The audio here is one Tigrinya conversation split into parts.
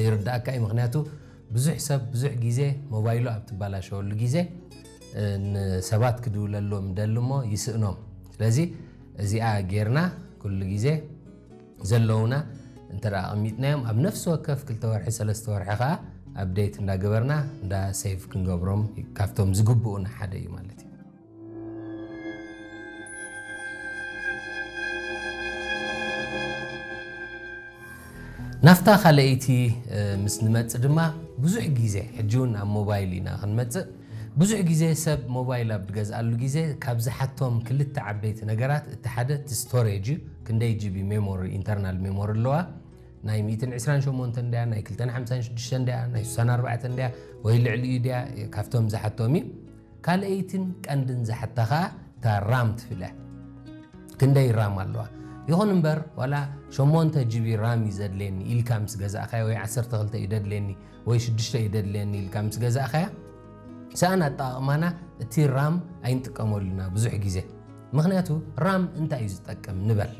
ይርዳእካ እዩ። ምክንያቱ ብዙሕ ሰብ ብዙሕ ግዜ ሞባይሉ ኣብ ትባላሸወሉ ግዜ፣ እ፣ ንሰባት ክድውለሎም ደሊ እሞ ይስእኖም። ስለዚ እዚኣ ጌርና ኩሉ ግዜ ዘለውና እንተ ደኣ ኣቐሚጥናዮም፣ ኣብ ነፍሲ ወከፍ ክልተ ወርሒ፣ ሰለስተ ወርሒ ከኣ ኣፕዴት እንዳገበርና፣ እንዳ ሴቭ ክንገብሮም ካብቶም ዝግብኡና ሓደ እዩ ማለት እዩ። ናብታ ካልኣይቲ፣ እ፣ ምስ ንመጽእ ድማ፣ ብዙሕ ግዜ፣ ሕጂ እውን ኣብ ሞባይል ኢና ክንመጽእ፣ ብዙሕ ግዜ ሰብ ሞባይል ኣብ ዝገዝኣሉ ግዜ ካብ ዝሓቶም ክልተ ዓበይቲ ነገራት፣ እቲ ሓደ እቲ ስቶሬጅ እዩ። ክንደይ ጂቢ ሜሞሪ፣ ኢንተርናል ሜሞሪ ኣለዋ? ናይ ሚእትን ዕስራን ሸሞንተን ድያ፣ ናይ ክልተን ሓምሳን ሽዱሽተን ድያ፣ ናይ ስሳን ኣርባዕተን ድያ፣ ወይ ልዕሊኡ ድያ? ካብቶም ዝሓቶም እዩ። ካልኣይትን ቀንድን ዝሓታ ኸኣ እታ ራም ትብል እያ። ክንደይ ራም ኣለዋ? ይኹን እምበር፣ ዋላ ሸሞንተ ጂቢ ራም እዩ ዘድልየኒ ኢልካ ምስ ገዛእካዮ፣ ወይ ዓሰርተ ክልተ እዩ ደድልየኒ፣ ወይ ሽዱሽተ እዩ ደድልየኒ ኢልካ ምስ ገዛእካያ፣ ሰኣን ኣጠቓቕማና እቲ ራም ኣይንጥቀመሉና ብዙሕ ግዜ። ምኽንያቱ ራም እንታይ እዩ ዝጠቅም ንበል።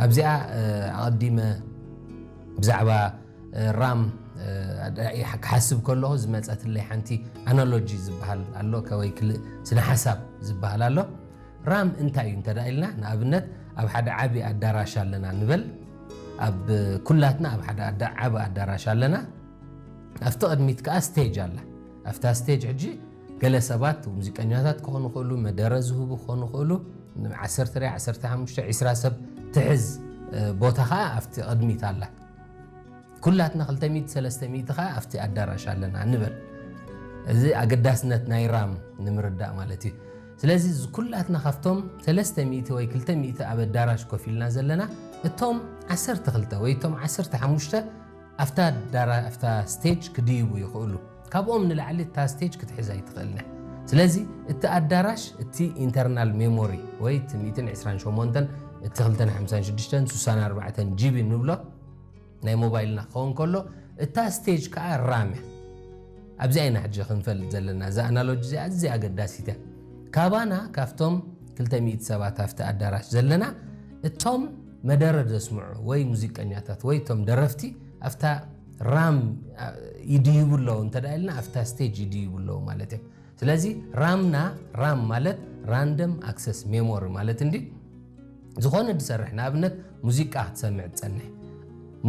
ኣብዚኣ፣ እ፣ ኣቐዲመ ብዛዕባ፣ እ፣ ራም፣ እ፣ ክሓስብ ከለኹ ዝመጸትለይ ሓንቲ ኣናሎጂ ዝበሃል ኣሎ፣ ከ-፣ ወይ ክልእ ስነ ሓሳብ ዝበሃል ኣሎ። ራም እንታይ እዩ እንተ ደኣ ኢልና፣ ንኣብነት ኣብ ሓደ ዓቢ ኣዳራሽ ኣለና ንበል። ኣብ ኩላትና ኣብ ሓደ ኣዳ-፣ ዓቢ ኣዳራሽ ኣለና። ኣብቲ ቅድሚት ከኣ ስቴጅ ኣላ። ኣብታ ስቴጅ ሕጂ ገለ ሰባት ሙዚቀኛታት ክኾኑ ይኽእሉ፣ መደረ ዝህቡ ክኾኑ ይኽእሉ። ዓሰርተ ድያ፣ ዓሰርተ ሓሙሽተ፣ ዕስራ ሰብ ትሕዝ፣ እ፣ ቦታ ከኣ ኣብቲ ቅድሚት ኣላ። ኩላትና ክልተ ሚእቲ፣ ሰለስተ ሚእቲ ከኣ ኣብቲ ኣዳራሽ ኣለና ንበል። እዚ ኣገዳስነት ናይ ራም ንምርዳእ ማለት እዩ። ስለዚ እዚ ኩላትና ካብቶም ሰለስተ ሚእቲ ወይ ክልተ ሚእቲ ኣብ ኣዳራሽ ኮፍ ኢልና ዘለና፣ እቶም ዓሰርተ ክልተ ወይ እቶም ዓሰርተ ሓሙሽተ ኣብታ ኣዳራ-፣ ኣብታ ስቴጅ ክድይቡ ይኽእሉ። ካብኦም ንላዕሊ እታ ስቴጅ ክትሕዝ ኣይትኽእልን እያ። ስለዚ እቲ ኣዳራሽ፣ እቲ ኢንተርናል ሜሞሪ ወይ እቲ ሚእትን ዕስራን ሸሞንተን፣ እቲ ክልተን ሓምሳን ሽዱሽተን፣ ስሳን ኣርባዕተን ጂቢ ንብሎ ናይ ሞባይልና ክኸውን ከሎ፣ እታ ስቴጅ ከኣ ራም እያ። ኣብዚኣ ኢና ሕጂ ክንፈልጥ ዘለና። እዛ ኣናሎጂ እዚኣ ኣዝያ ኣገዳሲት እያ። ካባና፣ ካብቶም ክልተ ሚእቲ ሰባት ኣብቲ ኣዳራሽ ዘለና፣ እቶም መደረ ዘስምዑ ወይ ሙዚቀኛታት ወይ እቶም ደረፍቲ ኣብታ ራም፣ አ፣ ይድይቡ ኣለዉ እንተ ደኣ ኢልና፣ ኣብታ ስቴጅ ይድይቡ ኣለዉ ማለት እዮም። ስለዚ ራምና፣ ራም ማለት ራንደም ኣክሰስ ሜሞሪ ማለት እንዲ፣ ዝኾነ ዝሰርሕ፣ ንኣብነት ሙዚቃ ክትሰምዕ ትጸንሕ።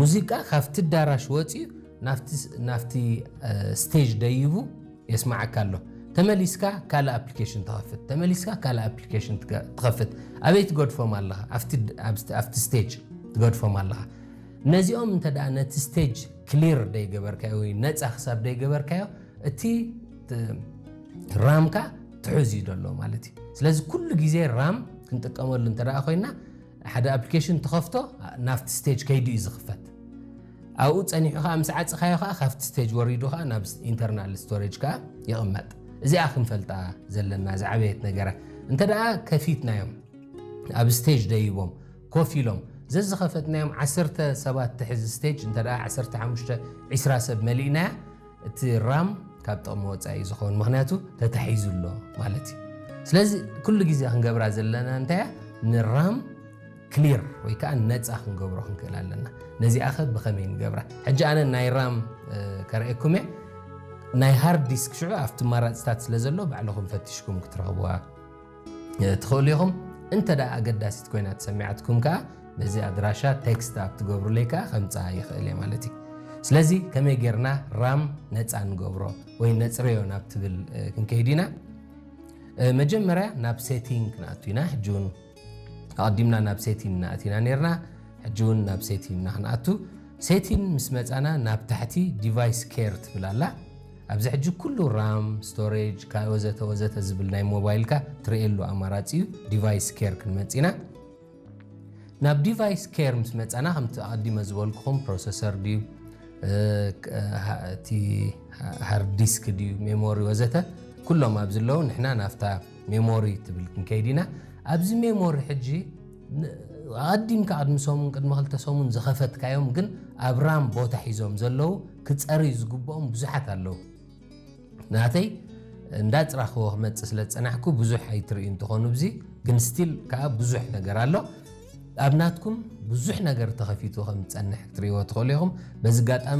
ሙዚቃ ካብቲ ኣዳራሽ ወጺኡ ናብቲ ስ-፣ ናብቲ፣ እ፣ ስቴጅ ደይቡ የስምዓካ ኣሎ። ተመሊስካ ካልእ ኣፕሊኬሽን ትኸፍት፣ ተመሊስካ ካልእ ኣፕሊኬሽን ትገ-፣ ትኸፍት። ኣበይ ትገድፎም ኣለኻ? ኣብቲ ድ-፣ ኣብቲ፣ ኣብቲ ስቴጅ ትገድፎም ኣለኻ። ነዚኦም እንተ ደኣ ነቲ ስቴጅ ክሊር ደይገበርካዮ ወይ ነጻ ክሳብ ደይገበርካዮ፣ እቲ ት-፣ ራምካ ትሑዝ እዩ ዘሎ ማለት እዩ። ስለዚ ኩሉ ግዜ ራም ክንጥቀመሉ እንተ ደኣ ኮይና፣ ሓደ ኣፕሊኬሽን ትኸፍቶ፣ ናብቲ ስቴጅ ከይዱ እዩ ዝኽፈት። ኣብኡ ጸኒሑ ከኣ ምስ ዓጽኻዮ ከኣ ካብቲ ስቴጅ ወሪዱ ከኣ ናብ ስ-፣ ኢንተርናል ስቶሬጅ ከኣ ይቕመጥ። እዚኣ ክንፈልጣ ዘለና ዝዓበየት ነገራት። እንተ ደኣ ከፊትናዮም፣ ኣብ ስቴጅ ደይቦም ኮፍ ኢሎም፣ ዘዝኸፈትናዮም ዓሰርተ ሰባት ትሕዝ ስቴጅ እንተ ደኣ ዓሰርተ ሓሙሽተ፣ ዕስራ ሰብ መሊእናያ፣ እቲ ራም ካብ ጥቕሚ ወጻኢ እዩ ዝኸውን፣ ምኽንያቱ ተታሒዙ ኣሎ ማለት እዩ። ስለዚ ኩሉ ግዜ ክንገብራ ዘለና እንታይ እያ? ንራም ክሊር ወይ ከኣ ነጻ ክንገብሮ ክንክእል ኣለና። ነዚኣ ኸ ብኸመይ ንገብራ? ሕጂ ኣነ ናይ ራም፣ እ፣ ከርእየኩም እየ። ናይ ሃርድ ዲስክ ሽዑ ኣብቲ መራጽታት ስለ ዘሎ ባዕልኹም ፈቲሽኩም ክትረኽብዋ፣ እ፣ ትኽእሉ ኢኹም። እንተ ደኣ ኣገዳሲት ኮይና ተሰሚዓትኩም ከኣ በዚ ኣድራሻ ቴክስት ኣብ ትገብሩለይ ከኣ ከምጽኣ ይኽእል እየ ማለት እዩ። ስለዚ ከመይ ጌርና ራም ነጻ ንገብሮ ወይ ነጽረዮ ናብ ትብል፣ እ፣ ክንከይድ ኢና። እ፣ መጀመርያ ናብ ሴቲንግ ክንኣቱ ኢና። ሕጂ እውን ኣቐዲምና ናብ ሴቲን እናኣቲና ነርና፣ ሕጂ እውን ናብ ሴቲን ኢና ክንኣቱ። ሴቲን ምስ መጻና ናብ ታሕቲ ዲቫይስ ኬር ትብል ኣላ። ኣብዚ ሕጂ ኩሉ ራም፣ ስቶሬጅ፣ ካ-፣ ወዘተ ወዘተ ዝብል ናይ ሞባይልካ ትርእየሉ ኣማራጺ እዩ። ዲቫይስ ኬር ክንመጽእ ኢና። ናብ ዲቫይስ ኬር ምስ መጻና፣ ከምቲ ኣቐዲመ ዝበልኩኹም፣ ፕሮሰሰር ድዩ፣ እ፣ ክ-፣ እ፣ ሃ-፣ እቲ ሃ-፣ ሃርድ ዲስክ ድዩ፣ ሜሞሪ ወዘተ፣ ኩሎም ኣብዚ ኣለዉ። ንሕና ናብታ ሜሞሪ ትብል ክንከይድ ኢና። ኣብዚ ሜሞሪ ሕጂ ን-፣ ኣቐዲምካ ቅድሚ ሰሙን፣ ቅድሚ ክልተ ሰሙን ዝኸፈትካዮም ግን ኣብ ራም ቦታ ሒዞም ዘለዉ ክጸርዩ ዝግብኦም ብዙሓት ኣለዉ። ናተይ እንዳጽራኽዎ ክመጽእ ስለ ዝጸናሕኩ ብዙሕ ኣይትርእዩ እንትኾኑ፣ ብዚ ግን ስቲል ከኣ ብዙሕ ነገር ኣሎ። ኣብ ናትኩም ብዙሕ ነገር ተኸፊቱ ከም ዝጸንሕ ክትርእይዎ ትኽእሉ ኢኹም። በዚ ኣጋጣሚ